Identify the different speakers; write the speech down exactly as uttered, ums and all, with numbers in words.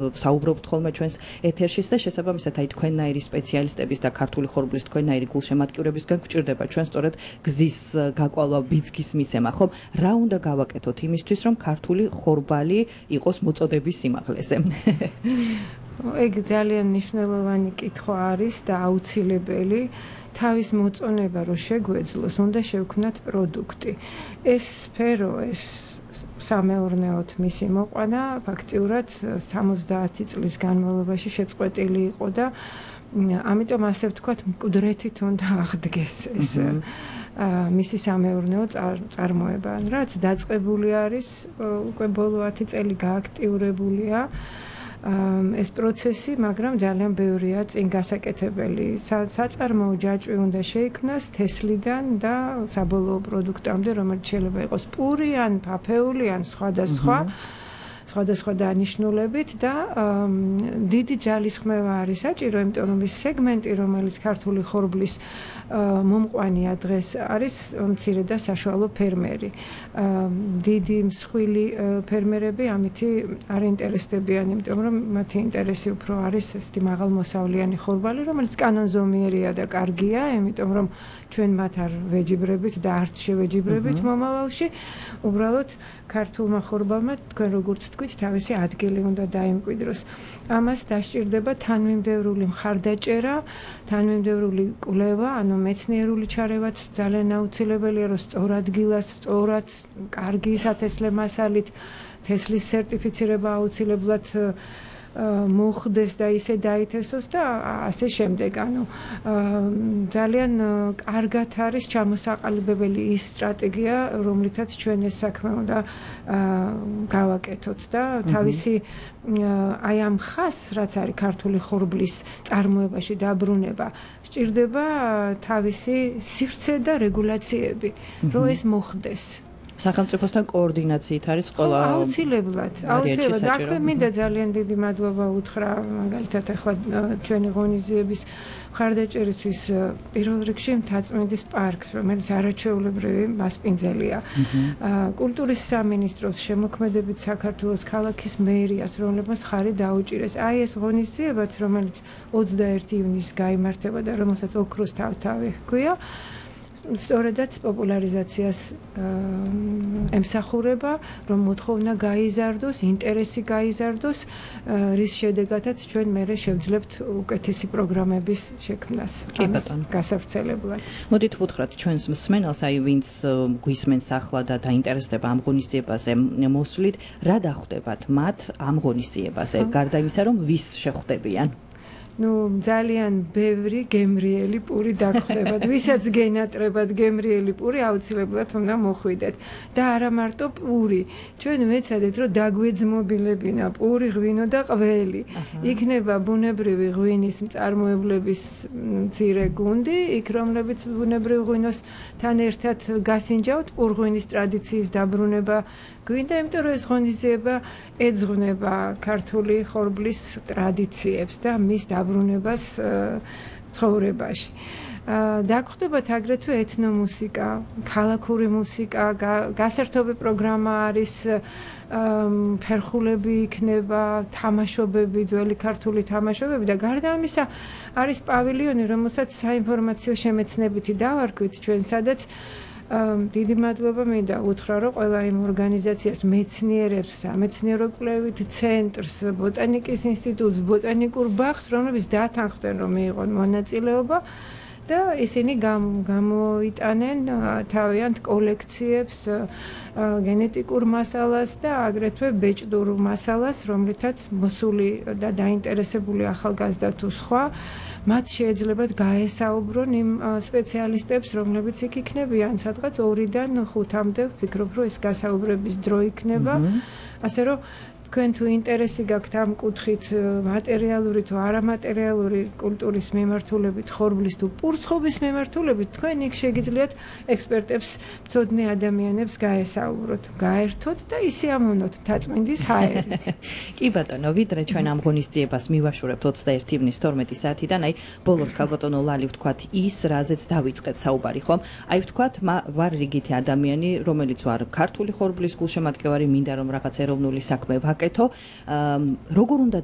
Speaker 1: საუბრობთ ხოლმე ჩვენს ეთერშიც და შესაბამისად აი თქვენნაირი სპეციალისტების და ქართული ხორბლის თქვენნაირი გულშემატკივრებისგან გვჭირდება ჩვენ სწორედ გზის გაკვალვა, ბიძგის მიცემა, ხომ? რა უნდა გავაკეთოთ იმისთვის, რომ ქართული ხორბალი იყოს მოწოდების სიმაღლეზე?
Speaker 2: ეგ ძალიან მნიშვნელოვანი კითხვა არის და აუცილებელი. თავის მოწონება რო შეგვეძლოს, უნდა შევქმნათ პროდუქტი. ეს სფერო, ეს სამეურნეოდ მისი მოყვანა ფაქტიურად სამოცდაათი წლის განმავლობაში შეწყვეტილი იყო და ამიტომ ასე ვთქვათ, მკვდრეთით უნდა აღდგეს ეს მისი სამეურნეო წარმოება, რაც დაწყებული არის უკვე ბოლო ათი წელი გააქტიურებულია ეს პროცესი, მაგრამ ძალიან ბევრია წინ გასაკეთებელი. საწარმოო ჯაჭვი უნდა შეიქმნას თესლიდან და საბოლოო პროდუქტამდე, რომელიც შეიძლება იყოს პური ან ფაფეული ან სხვადასხვა სხვადასხვა დანიშნულებით და დიდი ძალისხმევა არის საჭირო, იმიტომ რომ ის სეგმენტი, რომელიც ქართული ხორბლის მომყვანია დღეს არის მცირე და საშუალო ფერმერი. დიდი მსხვილი ფერმერები ამითი არ ინტერესდებიან, იმიტომ რომ მათი ინტერესი უფრო არის ესეთი მაღალმოსავლიანი ხორბალი, რომელიც კანონზომიერია და კარგია, იმიტომ რომ ჩვენ მათ არ ვეჯიბრებით და არც შევეჯიბრებით მომავალში. უბრალოდ ქართულმა ხორბალმა თქვენ როგორც თქვით, თავისი ადგილი უნდა დაიმკვიდროს. ამას დასჭირდება თანმიმდევრული მხარდაჭერა, თანმიმდევრული კვლევა, ანუ მეცნიერული ჩარევაც ძალიან აუცილებელია, რომ სწორ ადგილას, სწორად, კარგი სათესლე მასალით თესლის სერტიფიცირება აუცილებლად მოხდეს და ისე დაითესოს და ასე შემდეგ. ანუ ძალიან კარგად არის ჩამოსაყალიბებელი ის სტრატეგია, რომლითაც ჩვენ ეს საქმე უნდა გავაკეთოთ და თავისი აი ამ ხაზს, რაც არის ქართული ხორბლის წარმოებაში დაბრუნება, სჭირდება თავისი სივრცე და რეგულაციები, რომ ეს მოხდეს.
Speaker 1: სახელმწიფოსთან კოორდინაციით არის ყველა
Speaker 2: აუცილებლად, აუცილებლად. აქვე მინდა ძალიან დიდი მადლობა უთხრა, მაგალითად ახლა ჩვენი ღონისძიების მხარდაჭერისთვის პირველ რიგში მთაწმინდის პარკს, რომელიც არაჩვეულებრივი მასპინძელია. კულტურის სამინისტროს შემოქმედებით საქართველოს ქალაქის მერიას, რომლებმაც ხარი დაუჭირეს. აი ეს ღონისძიებაც, რომელიც ოცდაერთი ივნისს გაიმართება და რომელსაც ოქროს თავთავი ჰქვია, სწორედაც პოპულარიზაციას ემსახურება, რომ მოთხოვნა გაიზარდოს, ინტერესი გაიზარდოს, რის შედეგადაც ჩვენ მერე შევძლებთ უკეთესი პროგრამების შექმნას გასავრცელებლად.
Speaker 1: მოდით ვუთხრათ ჩვენს მსმენელს, აი ვინც გვისმენს ახლა და დაინტერესდება ამ ღონისძიებაზე მოსვლით, რა დახვდებათ მათ ამ ღონისძიებაზე, გარდა იმისა, რომ ვის შეხვდებიან?
Speaker 2: ნუ ძალიან ბევრი გემრიელი პური დაგხვდებათ. ვისაც გენატრებათ გემრიელი პური, აუცილებლად უნდა მოხვიდეთ. და არა მარტო პური. ჩვენ ვეცადეთ, რომ დაგვეძმობილებინა პური, ღვინო და ყველი. იქნება ბუნებრივი ღვინის მწარმოებლების მცირე გუნდი, იქ რომლებიც ბუნებრივ ღვინოსთან ერთად გასინჯავთ, პურღვინის ტრადიციის დაბრუნება გვინდა, იმიტომ რომ ეს ღონისძიება ეძღვნება ქართული ხორბლის ტრადიციებს და მის დაბრუნებას ცხოვრებაში. დაგხვდებათ აგრეთვე ეთნომუსიკა, ქალაქური მუსიკა, გასართობი პროგრამა არის, ფერხულები იქნება, თამაშობები, ძველი ქართული თამაშობები და გარდა ამისა არის პავილიონი, რომელსაც საინფორმაციო შემეცნებითი დავარქვით ჩვენ, სადაც დიდი მადლობა მინდა უთხრა, რომ ყველა იმ ორგანიზაციას, მეცნიერებს, სამეცნიერო კვლევით ცენტრს, ბოტანიკის ინსტიტუტს, ბოტანიკურ ბაღს, რომლებიც დათანხმდნენ, რომ მიიღონ მონაწილეობა და ისინი გამოიტანენ თავიანთ კოლექციებს, გენეტიკურ მასალას და აგრეთვე ბეჭდურ მასალას, რომლითაც მოსული და დაინტერესებული ახალგაზრდა თუ სხვა მათ შეეძლებათ გაესაუბრონ იმ სპეციალისტებს, რომლებიც იქ იქნებიან, სადღაც ორიდან ხუთამდე, ვფიქრობ, რომ ეს გასაუბრების დრო იქნება. ასე რომ თქვენ თუ ინტერესი გაქვთ ამ კუთხით მატერიალური თუ არამატერიალური კულტურის მიმართულებით, ხორბლის თუ პურცხოვის მიმართულებით, თქვენ იქ შეგიძლიათ ექსპერტებს, მცოდნე ადამიანებს გაესაუბროთ, გაერთოთ და ისე ამოვნოთ მთაწმინდის ჰაერით.
Speaker 1: კი ბატონო, ვიდრე ჩვენ ამ ღონისძიებას მივაშურებთ ოცდაერთი ივნის თორმეტი საათიდან, აი ბოლოს ქალბატონო ლალი ვთქვათ ის, რაზეც დავიწყეთ საუბარი, ხომ? აი ვთქვათ, ვარ რიგითი ადამიანი, რომელიც ვარ ქართული ხორბლის გულშემატკივარი, მინდა რომ რაღაც ეროვნული საქმე გავაკეთო, როგორ უნდა